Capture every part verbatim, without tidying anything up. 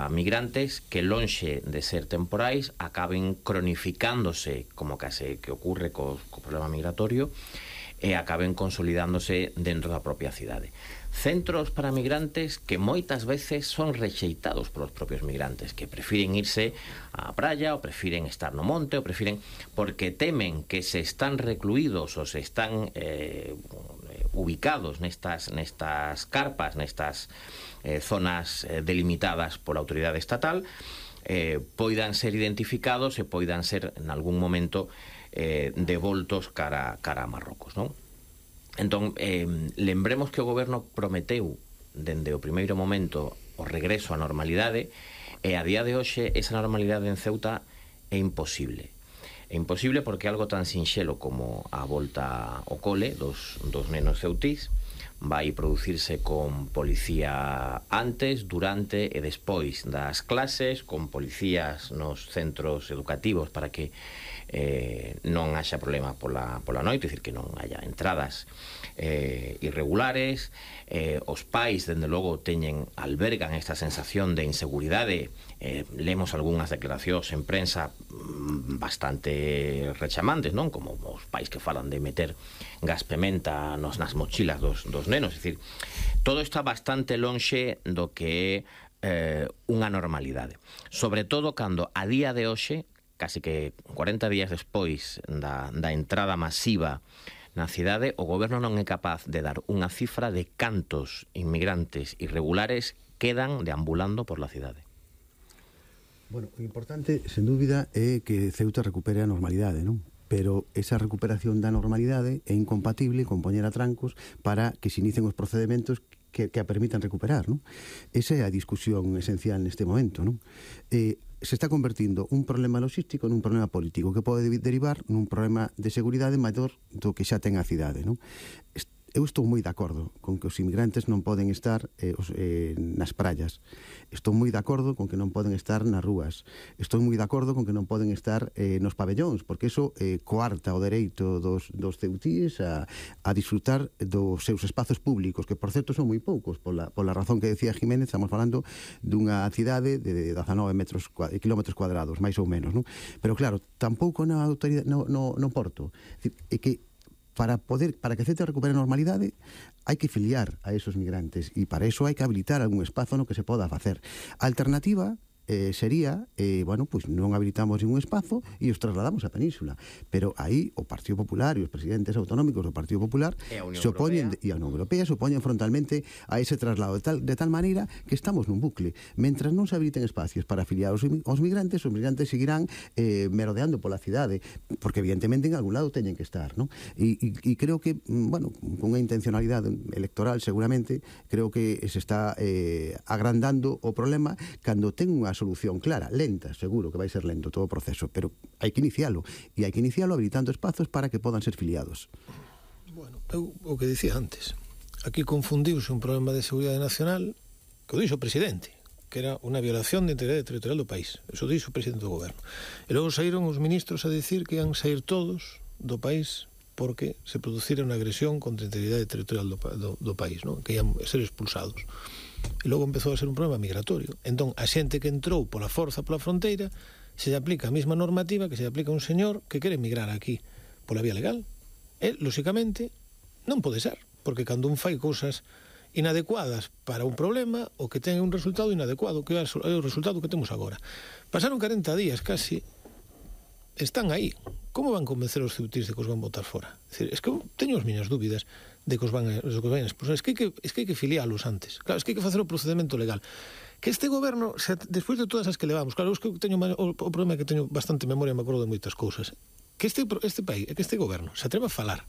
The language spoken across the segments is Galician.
migrantes que, lonxe de ser temporais, acaben cronificándose, como case que ocurre co, co problema migratorio, e acaben consolidándose dentro da propia cidade. Centros para migrantes que moitas veces son rexeitados polos propios migrantes, que prefiren irse á praia, ou prefiren estar no monte, ou prefiren, porque temen que se están recluídos ou se están eh, ubicados nestas, nestas carpas, nestas eh, zonas eh, delimitadas pola autoridade estatal, eh, poidan ser identificados e poidan ser, en algún momento, eh, devoltos cara, cara a Marrocos, non? Entón, eh, lembremos que o goberno prometeu dende o primeiro momento o regreso á normalidade, e a día de hoxe esa normalidade en Ceuta é imposible. É imposible porque algo tan sinxelo como a volta ao cole dos, dos nenos ceutís vai producirse con policía antes, durante e despois das clases, con policías nos centros educativos para que eh, non haxa problema pola, pola noite, é dicir, que non haya entradas eh, irregulares. Eh, os pais, dende logo, teñen, albergan esta sensación de inseguridade. Eh, lemos algunhas declaracións en prensa bastante rechamantes, non? Como os pais que falan de meter gas pementa nos, nas mochilas dos, dos nenos. É dicir, todo está bastante lonxe do que é eh, unha normalidade. Sobre todo cando a día de hoxe, casi que cuarenta días despois da, da entrada masiva na cidade, o goberno non é capaz de dar unha cifra de cantos inmigrantes irregulares quedan deambulando por la cidade. Bueno, o importante, sen dúbida, é que Ceuta recupere a normalidade, non? Pero esa recuperación da normalidade é incompatible con poñer a trancos para que se inicien os procedementos que, que a permitan recuperar, non? Esa é a discusión esencial neste momento, non? Eh, se está convertindo un problema logístico nun problema político que pode derivar nun problema de seguridade maior do que xa ten a cidade, non? Eu estou moi de acordo con que os inmigrantes non poden estar eh, os, eh, nas praias. Estou moi de acordo con que non poden estar nas rúas. Estou moi de acordo con que non poden estar eh, nos pabellóns, porque iso eh, coarta o dereito dos, dos ceutíes a, a disfrutar dos seus espazos públicos, que, por certo, son moi poucos. Pola, pola razón que decía Jiménez, estamos falando dunha cidade de dezanove metros, kilómetros cuadrados, máis ou menos, non? Pero, claro, tampouco na autoridade, no, no, no porto. É que para poder, para que Ceuta recupere a normalidade, hai que filiar a esos migrantes, e para eso hai que habilitar algún espazo no que se poda facer. A alternativa eh, sería, eh, bueno, pues non habilitamos ningún espazo e os trasladamos á península. Pero aí o Partido Popular e os presidentes autonómicos do Partido Popular se opoñen, e a Unión Europea se opoñen frontalmente a ese traslado de tal, de tal maneira que estamos nun bucle. Mentras non se habiliten espacios para afiliar os, os migrantes, os migrantes seguirán eh, merodeando pola cidade, porque evidentemente en algún lado teñen que estar, non? E, e, e creo que, bueno, con unha intencionalidade electoral seguramente, creo que se está eh, agrandando o problema cando ten unha solución clara, lenta, seguro que vai ser lento todo o proceso, pero hai que inicialo, e hai que inicialo habilitando espazos para que podan ser filiados. Bueno, eu o que dicía antes, aquí confundiuse un problema de seguridade nacional que o dixo o presidente, que era unha violación de integridade territorial do país. Eso dixo o presidente do goberno. E logo saíron os ministros a dicir que ian sair todos do país porque se producira unha agresión contra a integridade territorial do, do, do país, non? Que ian ser expulsados. E logo empezou a ser un problema migratorio. Entón, a xente que entrou pola forza pola fronteira se lle aplica a mesma normativa que se lle aplica a un señor que quere emigrar aquí pola vía legal. E, lóxicamente, non pode ser, porque cando un fai cousas inadecuadas para un problema, o que ten un resultado inadecuado, que é o resultado que temos agora. Pasaron corenta días casi, están aí. Como van convencer os ceutís de que os van botar fora? É, dicir, es que teño as miñas dúbidas de que os van a, os van a expulsar. Es que, hai que, es que hai que filialos antes. Claro, es que hai que facer o procedimento legal. Que este goberno, se, despois de todas as que levamos, claro, es que teño o, o problema é que teño bastante memoria, me acordo de moitas cousas. Que este, este país, que este goberno se atreva a falar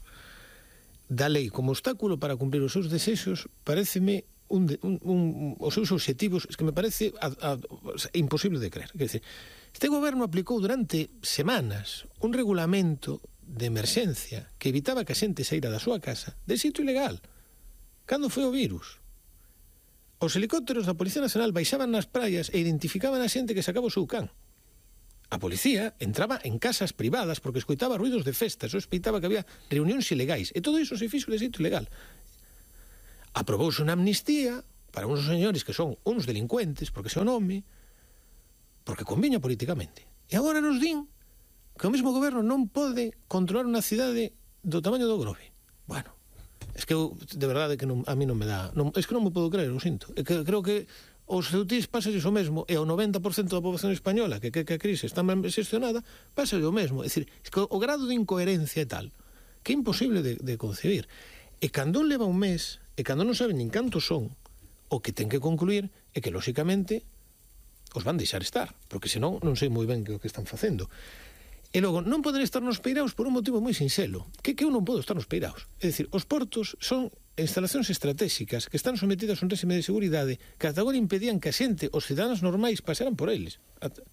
da lei como obstáculo para cumprir os seus desexos, pareceme un, de, un, un, os seus obxectivos, es que me parece a, a, a, imposible de creer. Quer dizer, este goberno aplicou durante semanas un regulamento de emerxencia que evitaba que a xente saíra da súa casa de sitio ilegal. Cando foi o virus? Os helicópteros da Policía Nacional baixaban nas praias e identificaban a xente que sacaba o seu can. A policía entraba en casas privadas porque escoitaba ruidos de festa, sospeitaba que había reunións ilegais, e todo iso se fixo de sitio ilegal. Aprobouse unha amnistía para uns señores que son uns delincuentes, porque se o nome, porque conviña políticamente. E agora nos din que o mesmo goberno non pode controlar unha cidade do tamaño do Grove. Bueno, es que eu, de verdade que non, a mí non me dá, non, es que non me podo creer, o sinto. É que creo que os ceutís pasa o mesmo, e ao noventa por cento da poboación española que que, que a crise está mal xestionada, pasa o mesmo. É dicir, es que o grado de incoherencia é tal que é imposible de, de concebir. E cando un leva un mes, e cando non saben nin cantos son, o que ten que concluir é que, lóxicamente, os van deixar estar, porque senón non sei moi ben que o que están facendo. E logo, non poden estar nos peiraos por un motivo moi sinxelo, que que eu non podo estar nos peiraos. É dicir, os portos son instalacións estratégicas que están sometidas a un réxime de seguridade que ata agora impedían que a xente, os cidadáns normais, pasaran por eles.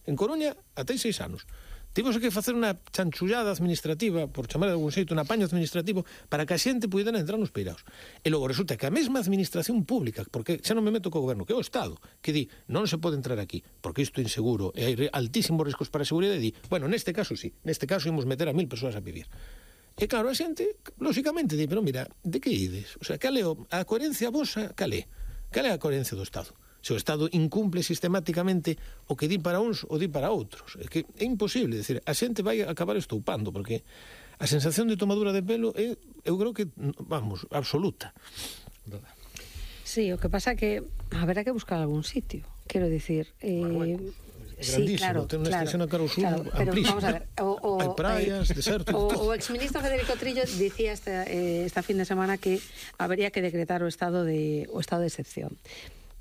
En Coruña, até seis anos. Tivemos que facer unha chanchullada administrativa, por chamar de algún xeito, un apaño administrativo, para que a xente pudera entrar nos peiraos. E logo resulta que a mesma administración pública, porque xa non me meto co goberno, que é o Estado, que di, non se pode entrar aquí, porque isto é inseguro, e hai altísimos riscos para a seguridade, e di, bueno, neste caso sí, neste caso imos meter a mil persoas a vivir. E claro, a xente, lóxicamente, di, pero mira, de que ides? O sea, cal é a coherencia vosa, cal é? Cal é a coherencia do Estado? Se o Estado incumple sistemáticamente o que di para uns ou di para outros. É que é imposible, decir, a xente vai acabar estoupando, porque a sensación de tomadura de pelo é, eu creo que, vamos, absoluta. Sí, o que pasa que haberá que buscar algún sitio, quero dicir... Eh... Sí, claro, ten unha extensión a Carlos Sur claro, pero amplísima. Vamos a ver, o, o, hai praias, eh, desertos. O, o exministro Federico Trillo dicía esta, eh, esta fin de semana que habría que decretar o estado de o estado de excepción.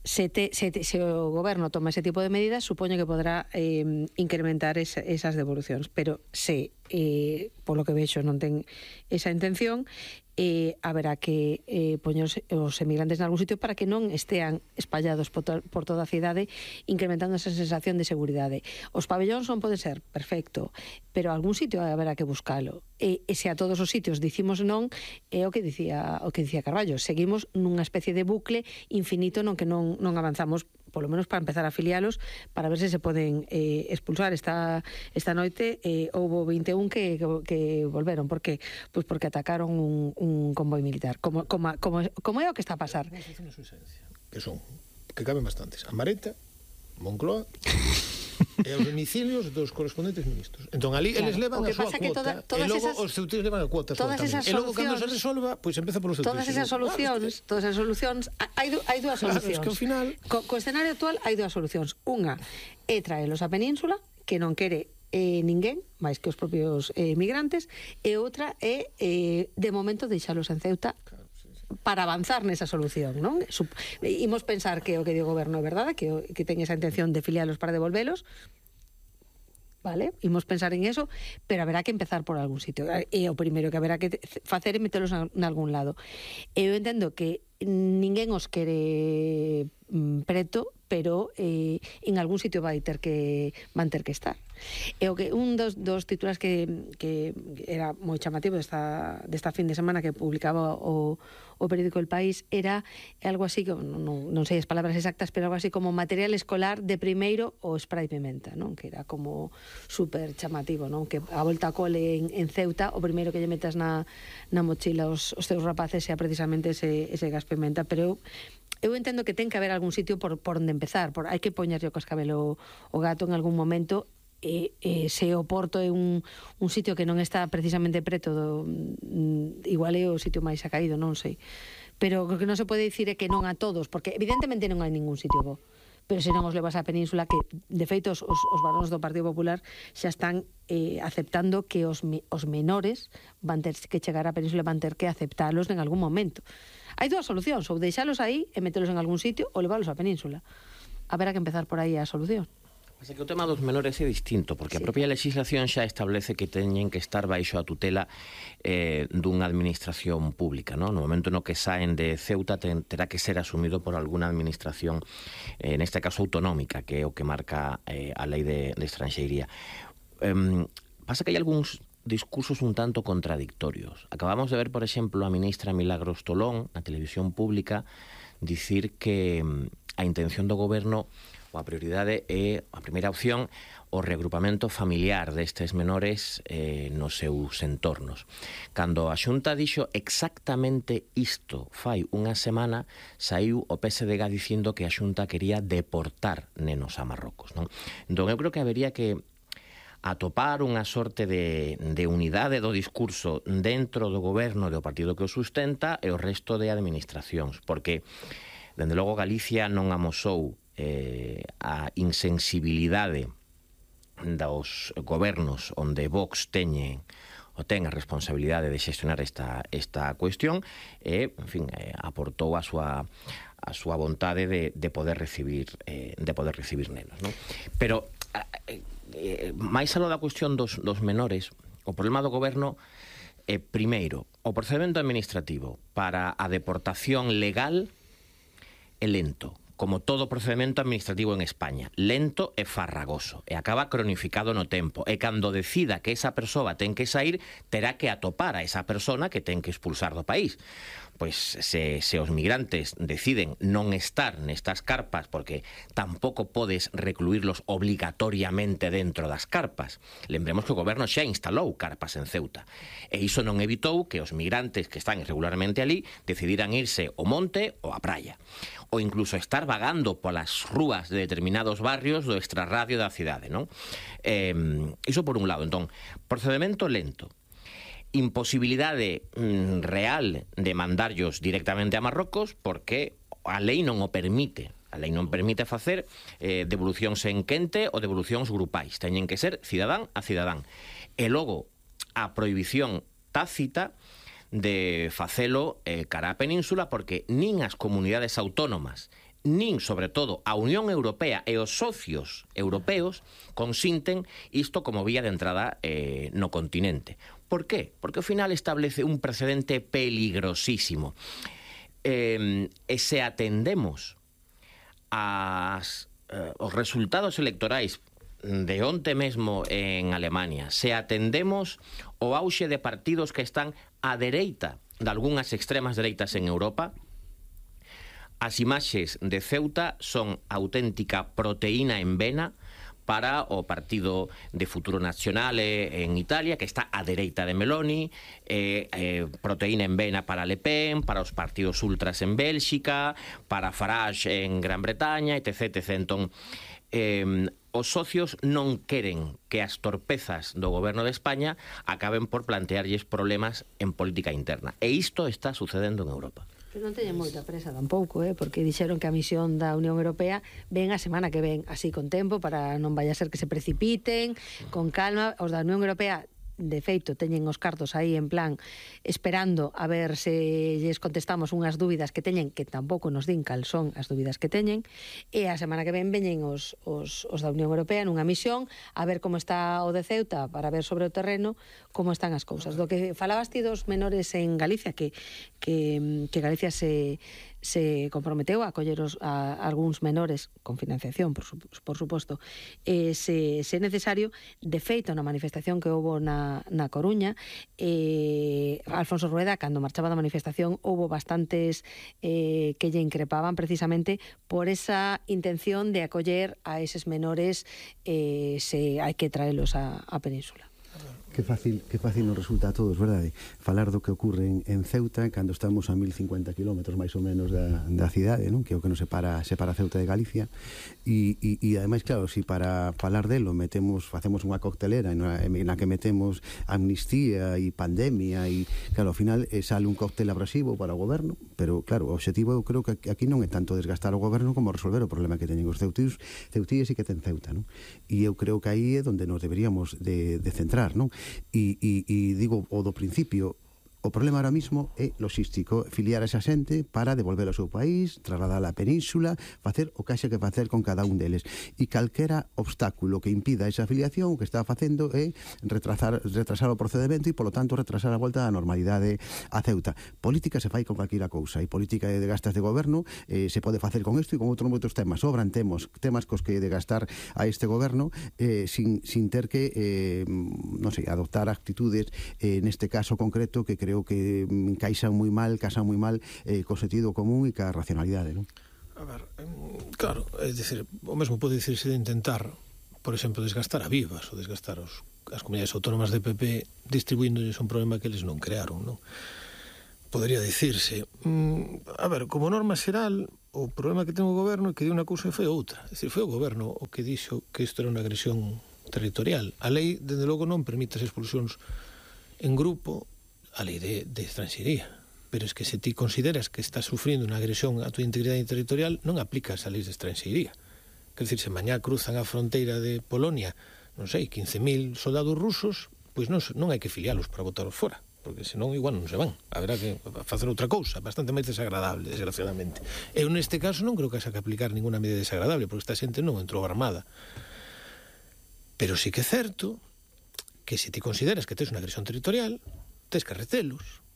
Se, te, se, te, se o goberno toma ese tipo de medidas, supoño que podrá eh, incrementar es, esas devolucións, pero se, eh, polo que vexo, non ten esa intención, eh, haberá que eh, poñer os, os emigrantes en algún sitio para que non estean espallados por, to, por toda a cidade, incrementando esa sensación de seguridade. Os pabellóns non poden ser, perfecto, pero algún sitio haberá que buscalo. E, e se a todos os sitios dicimos non, é o que dicía o que dicía Carballo, seguimos nunha especie de bucle infinito non que non, non avanzamos, polo menos para empezar a afilialos, para ver se se poden eh, expulsar. Esta, esta noite eh, houbo vinte e un que, que, que volveron. Por que? Pois porque atacaron un, un convoi militar. Como, como, como, como é o que está a pasar? Que son, que caben bastantes. A Mareta, Moncloa... e os domicilios dos correspondentes ministros. Entón, ali, claro, eles levan a súa cuota, toda, e logo esas, os ceutís levan a cuota súa tamén. E logo, cando se resolva, pois empeza por os ceutís. Todas esas solucións, todas esas solucións, hai, hai dúas claro, solucións. Es que ao final... Co, co escenario actual hai dúas solucións. Unha é traelos a Península, que non quere eh, ninguén, máis que os propios eh, migrantes, e outra é, eh, de momento, deixalos en Ceuta, para avanzar nesa solución, non? Sup imos pensar que o que di o goberno é verdade, que, que ten esa intención de filialos para devolvelos, vale? Imos pensar en eso, pero haberá que empezar por algún sitio. E o primeiro que haberá que facer é metelos en algún lado. Eu entendo que ninguén os quere mm, preto, pero eh, en algún sitio vai ter que van ter que estar. E o que un dos, dos titulares que, que era moi chamativo desta, desta fin de semana que publicaba o, o periódico El País era algo así, que non, non sei as palabras exactas, pero algo así como material escolar de primeiro o spray pimenta, non? Que era como super chamativo, non? Que a volta a cole en, en Ceuta, o primeiro que lle metas na, na mochila os, os teus rapaces sea precisamente ese, ese gas pimenta, pero eu Eu entendo que ten que haber algún sitio por, por onde empezar, por, hai que poñerlle o cascabelo o gato en algún momento, e, e se o Porto é un, un sitio que non está precisamente preto do, mm, igual é o sitio máis acaído, non sei, pero o que non se pode dicir é que non a todos, porque evidentemente non hai ningún sitio bo, pero se non os levas á Península, que de feito os, os varóns do Partido Popular xa están eh, aceptando que os, os menores van ter que chegar á Península, van ter que aceptalos en algún momento. Hai dúas solucións, ou deixalos aí e metelos en algún sitio, ou leválos á Península. Haberá que empezar por aí a solución. Mas é que o tema dos menores é distinto, porque sí. A propia legislación xa establece que teñen que estar baixo a tutela eh, dunha administración pública, non? No momento no que saen de Ceuta ten, terá que ser asumido por alguna administración, eh, neste caso autonómica, que é o que marca eh, a lei de, de estranxeiría. Eh, pasa que hai algúns discursos un tanto contradictorios. Acabamos de ver, por exemplo, a ministra Milagros Tolón na televisión pública dicir que a intención do goberno ou a prioridade é, a primeira opción, o reagrupamento familiar destes menores eh, nos seus entornos. Cando a Xunta dixo exactamente isto fai unha semana, saiu o P S D G dicindo que a Xunta quería deportar nenos a Marrocos, non? Entón, eu creo que habería que atopar unha sorte de, de unidade do discurso dentro do goberno do partido que o sustenta e o resto de administracións, porque, dende logo, Galicia non amosou eh, a insensibilidade dos gobernos onde Vox teñe o ten a responsabilidade de xestionar esta, esta cuestión e, en fin, eh, aportou a súa a súa vontade de, de poder recibir eh, de poder recibir nenos, non? Pero eh, eh, máis aló da cuestión dos, dos menores, o problema do goberno é, primeiro, o procedimento administrativo para a deportación legal é lento, como todo procedimento administrativo en España, lento e farragoso, e acaba cronificado no tempo, e cando decida que esa persoa ten que sair, terá que atopar a esa persona que ten que expulsar do país. Pois se, se os migrantes deciden non estar nestas carpas, porque tampouco podes recluirlos obligatoriamente dentro das carpas. Lembremos que o goberno xa instalou carpas en Ceuta, e iso non evitou que os migrantes que están irregularmente ali decidiran irse ao monte ou á praia, ou incluso estar vagando polas rúas de determinados barrios do extrarradio da cidade, non? Eh, iso por un lado. Entón, procedimento lento, imposibilidade mm, real de mandarllos directamente a Marrocos, porque a lei non o permite. A lei non permite facer eh, devolucións en quente ou devolucións grupais. Teñen que ser cidadán a cidadán. E logo, a prohibición tácita de facelo eh, cara á península, porque nin as comunidades autónomas, nin, sobre todo, a Unión Europea e os socios europeos consinten isto como vía de entrada eh, no continente. Por qué? Porque ao final establece un precedente peligrosísimo. Eh, e se atendemos as, eh, os resultados electorais de onte mesmo en Alemania, se atendemos o auxe de partidos que están á dereita de algunhas extremas dereitas en Europa, as imaxes de Ceuta son auténtica proteína en vena para o Partido de Futuro Nazionale en Italia, que está á dereita de Meloni, eh, eh, proteína en vena para Le Pen, para os partidos ultras en Bélxica, para Farage en Gran Bretaña, etc, etcétera. Entón, eh, os socios non queren que as torpezas do goberno de España acaben por plantearlles problemas en política interna. E isto está sucedendo en Europa. Pero non teñen moita presa tampouco, eh? Porque dixeron que a misión da Unión Europea ven a semana que ven, así con tempo, para non vaya a ser que se precipiten, con calma. Os da Unión Europea, de feito, teñen os cartos aí en plan esperando a ver se lles contestamos unhas dúbidas que teñen, que tampouco nos din cal son as dúbidas que teñen, e a semana que ven veñen os, os, os da Unión Europea nunha misión a ver como está o de Ceuta, para ver sobre o terreno como están as cousas. Do que falabas ti dos menores en Galicia, que, que, que Galicia se se comprometeu a acoller os, a, a algúns menores con financiación, por, su, por suposto, eh, se, se necesario. De feito, na manifestación que houbo na, na Coruña, eh, Alfonso Rueda, cando marchaba da manifestación, houbo bastantes eh, que lle increpaban precisamente por esa intención de acoller a eses menores, eh, se hai que traelos a, a Península. Que fácil, que fácil nos resulta a todos, verdade? Falar do que ocurre en, en Ceuta cando estamos a mil cincuenta kilómetros máis ou menos da, da cidade, non? Que é o que nos separa, separa Ceuta de Galicia, e, e, e ademais, claro, si para falar delo metemos, facemos unha coctelera na, na que metemos amnistía e pandemia, e claro, ao final eh, sale un cóctel abrasivo para o goberno, pero claro, o objetivo eu creo que aquí non é tanto desgastar o goberno como resolver o problema que teñen os ceutíos, ceutíes e que ten Ceuta, non? E eu creo que aí é onde nos deberíamos de, de centrar, non? E, e, e digo o do principio, o problema ahora mismo é logístico, filiar a esa xente para devolver ao seu país, trasladar a península, facer o que haxe que facer con cada un deles. E calquera obstáculo que impida esa afiliación, o que está facendo é retrasar, retrasar o procedimento e, polo tanto, retrasar a volta á normalidade a Ceuta. Política se fai con calquera cousa, e política de gastas de goberno eh, se pode facer con isto e con outros moitos temas. Sobran temos, temas cos que de gastar a este goberno eh, sin, sin ter que, eh, non sei, adoptar actitudes, eh, neste caso concreto, que creo que encaixan moi mal, casan moi mal eh, co sentido común e ca racionalidade, non? A ver, claro, é dicir, o mesmo pode dicirse de intentar, por exemplo, desgastar a Vivas ou desgastar os, as comunidades autónomas de P P distribuíndolles un problema que eles non crearon, non? Podría dicirse, mm, a ver, como norma xeral, o problema que ten o goberno é que di unha cousa e foi outra. É dicir, foi o goberno o que dixo que isto era unha agresión territorial. A lei, dende logo, non permite as expulsións en grupo, a lei de, de estranxería. Pero es que se ti consideras que estás sufrindo unha agresión á tua integridade territorial, non aplicas a lei de estranxería. Quer dizer, se mañá cruzan a fronteira de Polonia, non sei, quince mil soldados rusos, pois non, non hai que filialos para botaros fora, porque senón igual non se van. Haberá que facer outra cousa, bastante máis desagradable, desgraciadamente. Eu neste caso non creo que haxa que aplicar ninguna medida desagradable, porque esta xente non entrou armada. Pero sí que é certo que se ti consideras que tes unha agresión territorial, tes que retelos.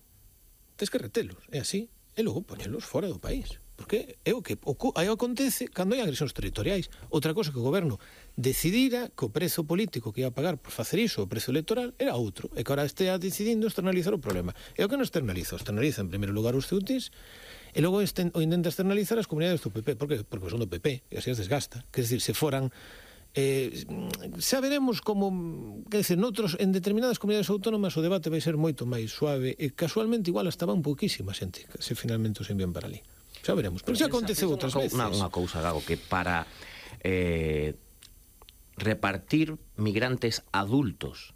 Tes que retelos, é así, e logo poñelos fora do país. Porque é o que aí acontece cando hai agresións territoriais. Outra cosa que o goberno decidira que o prezo político que ia a pagar por facer iso, o prezo electoral, era outro, e que agora estea decidindo externalizar o problema. E o que non externaliza? O externaliza en primeiro lugar os ceutis, e logo esten, o intenta externalizar as comunidades do P P. Por que? Porque son do P P, e así as desgasta. Quer dizer, se foran... Eh, xa veremos como, quer dizer, noutros, en determinadas comunidades autónomas o debate vai ser moito máis suave e casualmente igual hasta van pouquísima xente se finalmente os envían para ali. Xa veremos, pero xa aconteceu outras veces. Unha cousa, Gago, que para eh, repartir migrantes adultos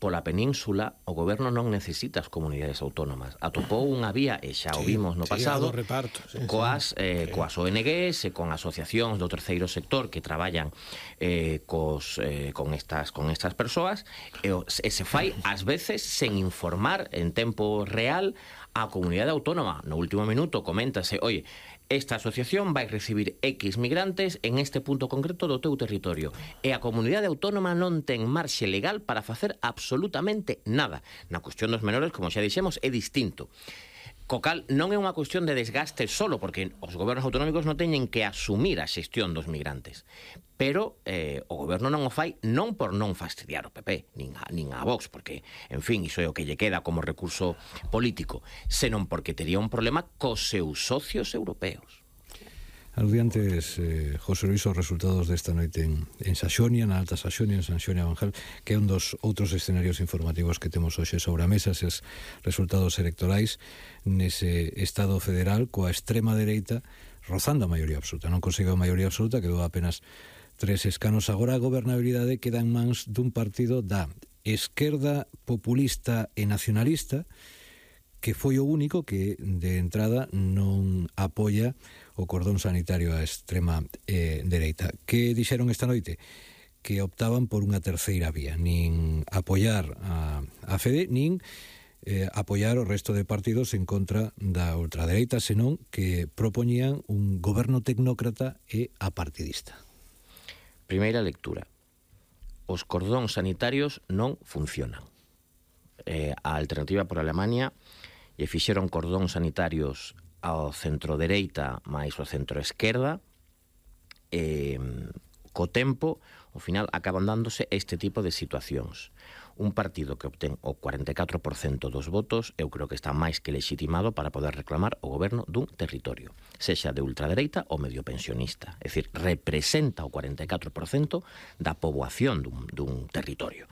pola península, o goberno non necesita as comunidades autónomas. Atopou unha vía, e xa o vimos no pasado, sí, reparto, sí, coas, sí. Eh, coas O N Gs e con asociacións do terceiro sector que traballan eh, cos, eh, con, estas, con estas persoas, e, e se fai, ás veces, sen informar en tempo real a comunidade autónoma. No último minuto coméntase, oye, esta asociación vai recibir X migrantes en este punto concreto do teu territorio, e a comunidade autónoma non ten marxe legal para facer absolutamente nada. Na cuestión dos menores, como xa dixemos, é distinto. Co cal, non é unha cuestión de desgaste solo, porque os gobernos autonómicos non teñen que asumir a xestión dos migrantes. Pero eh, o goberno non o fai non por non fastidiar o P P, nin a, nin a Vox, porque, en fin, iso é o que lle queda como recurso político, senón porque tería un problema cos seus socios europeos. Aludí antes, eh, José Luis, os resultados desta noite en, en Saxonia, na Alta Saxonia, en San Xonia Banjal, que é un dos outros escenarios informativos que temos hoxe sobre a mesa, eses resultados electorais nese Estado federal coa extrema dereita rozando a maioría absoluta. Non conseguiu a maioría absoluta, quedou apenas tres escanos. Agora a gobernabilidade queda en mans dun partido da esquerda populista e nacionalista, que foi o único que de entrada non apoia o cordón sanitario á extrema eh, dereita. Que dixeron esta noite? Que optaban por unha terceira vía, nin apoiar a, a Fede, nin eh, apoiar o resto de partidos en contra da ultradereita, senón que propoñían un goberno tecnócrata e apartidista. Primeira lectura. Os cordóns sanitarios non funcionan. Eh, a Alternativa por Alemania e fixeron cordóns sanitarios ao centro-dereita máis ao centro-esquerda, e co tempo, ao final, acaban dándose este tipo de situacións. Un partido que obtén o cuarenta e catro por cento dos votos, eu creo que está máis que legitimado para poder reclamar o goberno dun territorio, sexa de ultradereita ou medio pensionista. É dicir, representa o cuarenta e catro por cento da poboación dun, dun territorio.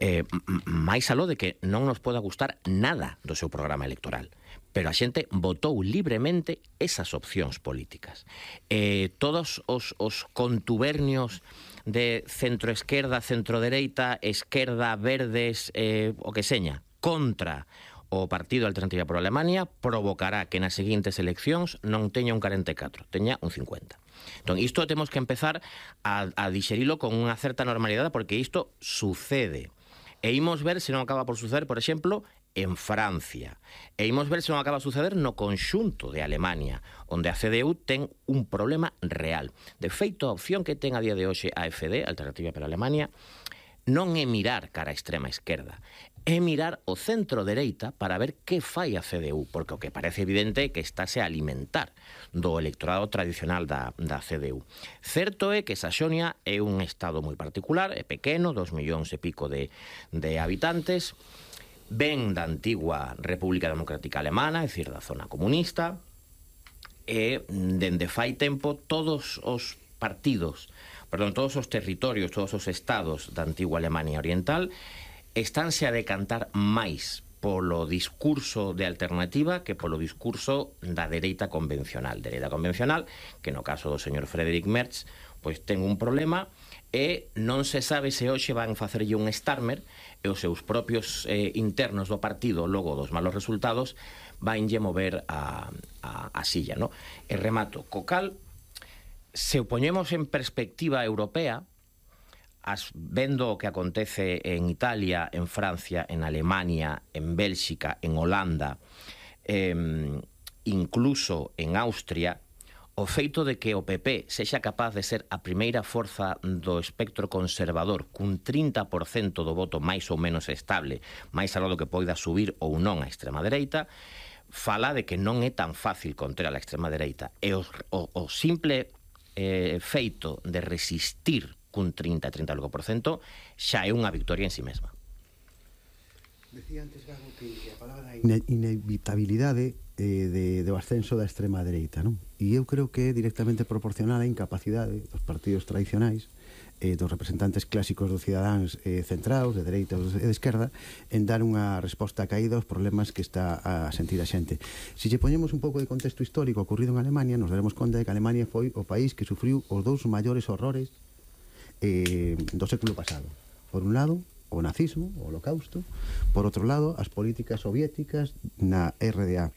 Eh, máis aló de que non nos poda gustar nada do seu programa electoral, pero a xente votou libremente esas opcións políticas. Eh, todos os, os contubernios de centro-esquerda, centro-dereita, esquerda, verdes, eh, o que seña, contra o Partido Alternativa por Alemania provocará que nas seguintes eleccións non teña un cuarenta e catro, teña un cincuenta. Entón, isto temos que empezar a, a dixerilo con unha certa normalidade, porque isto sucede. E imos ver se non acaba por suceder, por exemplo, en Francia. E imos ver se non acaba a suceder no conxunto de Alemania, onde a C D U ten un problema real. De feito, a opción que ten a día de hoxe a F D, Alternativa para Alemania, non é mirar cara a extrema esquerda, é mirar o centro-dereita para ver que fai a C D U, porque o que parece evidente é que estáse a alimentar do electorado tradicional da, da C D U. Certo é que Saxonia é un estado moi particular, é pequeno, dos millóns e pico de, de habitantes, ven da antigua República Democrática Alemana, é dicir, da zona comunista, e dende fai tempo todos os partidos, perdón, todos os territorios, todos os estados da antigua Alemania Oriental estánse a decantar máis polo discurso de alternativa que polo discurso da dereita convencional. Dereita convencional, que no caso do señor Friedrich Merz, pois ten un problema e non se sabe se hoxe van facerlle un Starmer e os seus propios eh, internos do partido, logo dos malos resultados, vanlle mover a, a, a silla, no? E remato, co cal, se o poñemos en perspectiva europea, As, vendo o que acontece en Italia, en Francia, en Alemania, en Bélxica, en Holanda, eh, incluso en Austria, o feito de que o P P sexa capaz de ser a primeira forza do espectro conservador cun trinta por cento do voto máis ou menos estable, máis algo do que poida subir ou non a extrema dereita, fala de que non é tan fácil contra a extrema dereita. E o, o, o simple eh, feito de resistir cun trinta a trinta por cento xa é unha victoria en si mesma. Decía antes, Gago, que a palabra ine inevitabilidade eh, de, do ascenso da extrema dereita, non? E eu creo que é directamente proporcional á incapacidade dos partidos tradicionais, eh, dos representantes clásicos dos cidadáns eh, centrados, de dereita e de esquerda, en dar unha resposta caída aos problemas que está a sentir a xente. Se lle poñemos un pouco de contexto histórico ocorrido en Alemania, nos daremos conta de que Alemania foi o país que sufriu os dous maiores horrores Eh, do século pasado. Por un lado, o nazismo, o holocausto, por outro lado, as políticas soviéticas na R D A.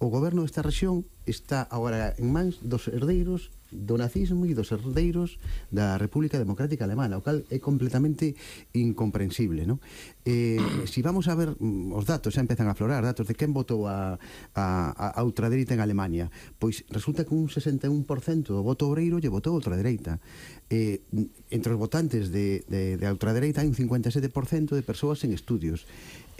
O goberno desta rexión está agora en mans dos herdeiros do nazismo e dos herdeiros da República Democrática Alemana, o cal é completamente incomprensible, non? Eh, si vamos a ver os datos, xa empezan a aflorar datos de quen votou a, a, a ultradereita en Alemania, pois resulta que un sesenta e un por cento do voto obreiro lle votou a ultradereita. Eh, entre os votantes de, de, de ultradereita hai un cincuenta e sete por cento de persoas en estudios.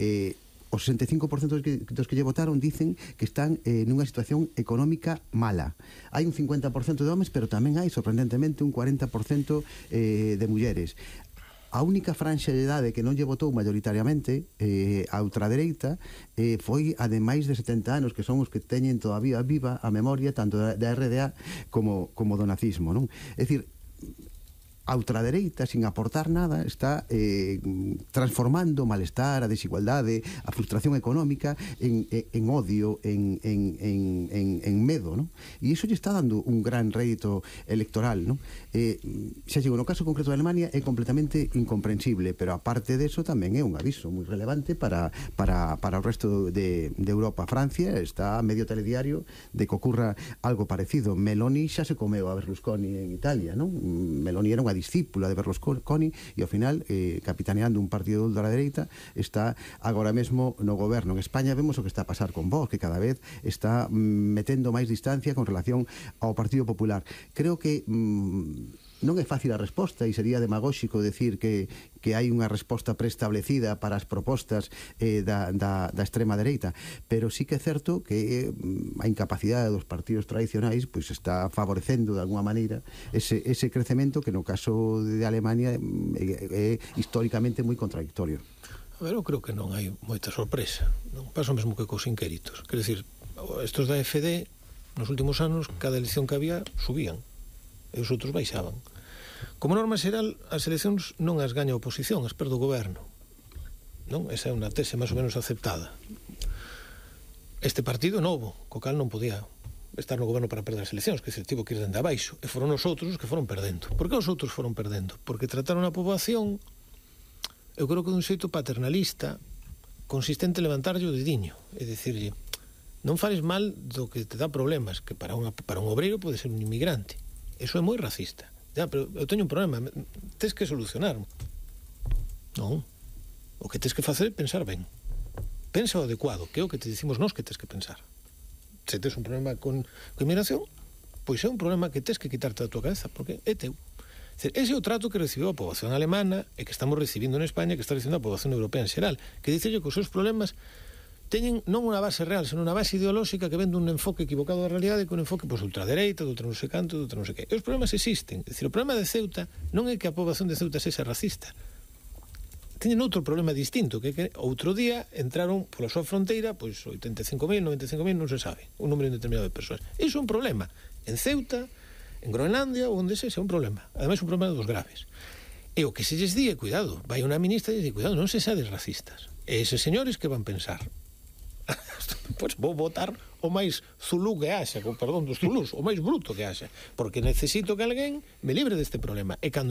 Eh, o sesenta e cinco por cento dos que, dos que lle votaron dicen que están eh, nunha situación económica mala. Hai un cincuenta por cento de homes, pero tamén hai, sorprendentemente, un cuarenta por cento eh, de mulleres. A única franxa de idade que non lle votou mayoritariamente eh, a ultradereita eh, foi a de máis de setenta anos, que son os que teñen todavía viva a memoria tanto da, da R D A como, como do nazismo, non? É dicir, a ultradereita, sin aportar nada, está eh, transformando o malestar, a desigualdade, a frustración económica en, en, en odio, en, en, en, en, en medo, ¿no? E iso lle está dando un gran rédito electoral, ¿no? Eh, xa digo, no caso concreto de Alemania é completamente incomprensible, pero aparte de eso tamén é un aviso moi relevante para, para, para o resto de, de Europa. Francia está a medio telediario de que ocurra algo parecido. Meloni xa se comeu a Berlusconi en Italia, ¿no? Meloni era unha discípula de Berlusconi e ao final, eh, capitaneando un partido de ultradereita, está agora mesmo no goberno. En España vemos o que está a pasar con Vox, que cada vez está metendo máis distancia con relación ao Partido Popular. Creo que mm, non é fácil a resposta e sería demagóxico decir que, que hai unha resposta preestablecida para as propostas eh, da, da, da extrema dereita, pero sí que é certo que eh, a incapacidade dos partidos tradicionais pois está favorecendo de alguma maneira ese, ese crecemento que no caso de Alemania é, é históricamente moi contradictorio. A ver, eu creo que non hai moita sorpresa, non pasa o mesmo que cos inquéritos, quer decir, estos da F D nos últimos anos cada elección que había subían e os outros baixaban. Como norma xeral, as eleccións non as gaña a oposición, as perde o goberno, non? Esa é unha tese máis ou menos aceptada. Este partido novo, co cal non podía estar no goberno para perder as eleccións, que se tivo que ir dende abaixo, e foron os outros os que foron perdendo. Por que os outros foron perdendo? Porque trataron a poboación, eu creo que dun xeito paternalista, consistente en levantarlle o dediño, e dicirlle, non fales mal do que te dá problemas, que para, unha, para un obreiro pode ser un inmigrante. Eso é moi racista. Ya, pero eu teño un problema, tes que solucionar. Non. O que tes que facer é pensar ben. Pensa o adecuado, que é o que te dicimos nós que tes que pensar. Se tes un problema con, con inmigración, pois é un problema que tes que quitarte da tua cabeza, porque é teu. Ese é o trato que recibiu a poboación alemana e que estamos recibindo en España, que está recibindo a poboación europea en xeral, que dice que os seus problemas teñen non unha base real, senón unha base ideolóxica que ven dun enfoque equivocado da realidade, que un enfoque pois, ultradereita, de outra non sei canto, de outra non sei que. E os problemas existen. É dicir, o problema de Ceuta non é que a poboación de Ceuta sexa racista. teñen outro problema distinto, que, que outro día entraron pola súa fronteira pois oitenta e cinco mil, noventa e cinco mil, non se sabe, un número indeterminado de persoas. Iso é un problema. En Ceuta, en Groenlandia, onde se, é un problema. Ademais, un problema dos graves. E o que se lles di, cuidado, vai unha ministra e dice, cuidado, non se sades racistas. E eses señores que van pensar? Pois vou votar o máis zulú que haxa, con perdón dos zulús, o máis bruto que haxa, porque necesito que alguén me libre deste problema. E cando